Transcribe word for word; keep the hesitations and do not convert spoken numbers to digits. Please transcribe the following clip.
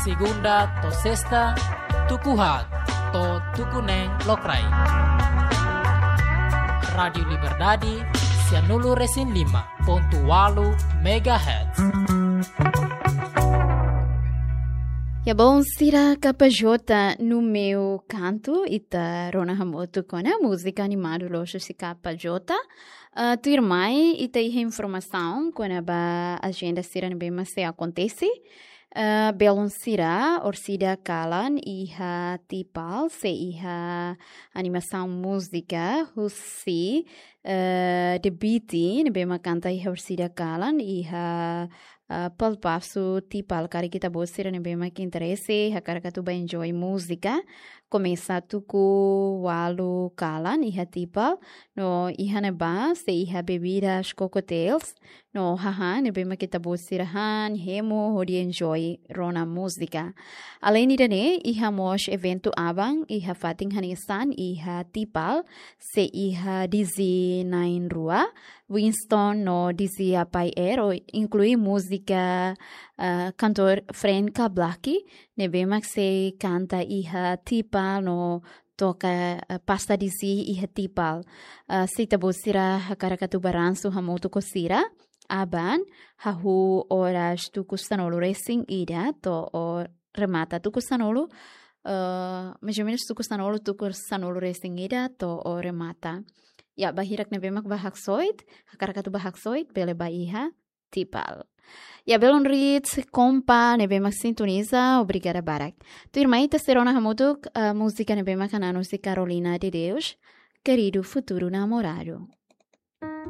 Segunda to'o sesta, tuku haat to'o tuku neen lokraik. Rádiu Liberdade, sianulu-resin-lima pontu ualu megahertz. Ya, bom, sira K J no meu canto, ita rona hamutuk ona múzika animadu loos husi K J. Ah, tuirmai, ita iha informasaun kona-ba ajenda sira ne'ebé mak sei akontese. Ah, belun sira, orsida kalan iha Tipal, sei iha animasaun múzika husi, eh, The Beatty, ne'ebé mak kanta iha orsida kalan iha, ah, Palpasu Tipal. Karik ita-boot sira ne'ebé mak interese, hakarak atu bá enjoy múzika, komesa tuku ualu kalan iha Tipal, no iha ne'ebá sei iha bebidas, cocktails, no hahán ne'ebé mak ita-boot sira han, hemu, hodi enjoy rona múzika. Além ida-ne'e, iha mós eventu aban iha fatin hanesan iha Tipal, sei iha D J na'in rua, Winston no D J Apai Ero, inklui múzika, ah, kantór Frank Kablaki, ne'ebé mak sei kanta iha Tipal no toka, eh, pasta D J iha Tipal. Eh, se ita-boot sira hakarak atu bá ransu hamutuk ho sira, aban, hahú oras tuku sanulu-resin-ida to'o remata tuku sanulu, eh, mais ou menus tuku sanulu, tuku sanulu-resin-ida to'o remata. Ya, ba hirak ne'ebé mak bá haksoit, hakarak atu bá haksoit, bele bá iha Tipal. Ya, belun Ritz, kompa ne'ebé mak sintoniza, obrigada barak. Tuirmai ita sei rona hamutuk, eh, múzika ne'ebé mak hanan husi Carolina de Deus, Querido Futuro Namorado.